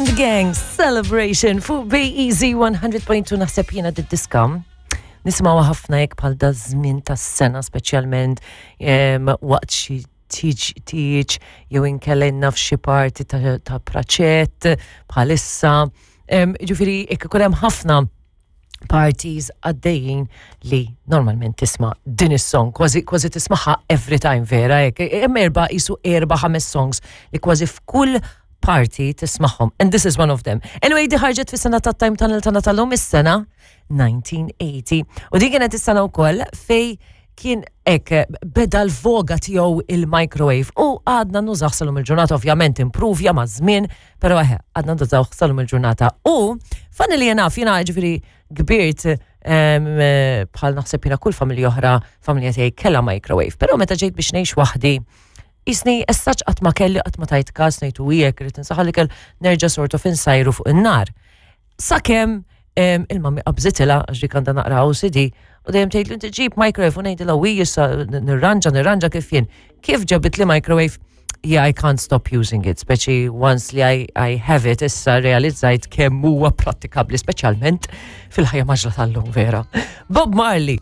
and the Gang Celebration fuq BEZ 100.2 naħseb jiena d-diska. Nisimgħuha ħafna jekk bħal da żmien tas-sena speċjalment waqt xi tiġ tiġ jew inkella naf xi parti ta', ta praċett bħalissa. Ġifieri jekk ikun hemm ħafna parties għaddejjin li normalment tisma' din is-song, kważi kważi tismaħħa every time vera hekk. Hemm erba' isu erba' ħames songs li kważi f'kull party tismaħħom. And this is one of them. Anyway, di ħarġet fis-sena ta' Time Tunnel tagħna tal-lum is-sena 1980. U din kienet is-sena wkoll fej kien hekk beda l-voga tiegħu il-microwave u għadna nużaw salum il-ġurnata ovvjament improvja ma' żmien, però eħe għadna nużaw salum il-ġurnata. U fanni li jena jiena ġifieri kbirt bħal naħseb jiena kull familja oħra, familja tiegħi kellha microwave, però meta ġejt biex ngħix waħdi jisni essaċ qatt ma kelli qatt ma tajt każ ngħid u jekk irid insaħħal ikel nerġa' sort of insajru fuq in-nar. Sakemm il-mami qabżitilha għax dik għandha naqra OCD u dejjem tgħid li inti ġib microwave u ngħidilha wi issa nirranġa nirranġa kif jien. Kif ġabit li microwave? Yeah, I can't stop using it, speċi once li I, I have it, issa realizzajt kemm huwa prattikabbli, speċjalment fil-ħajja maġla tal-lum vera. Bob Marley.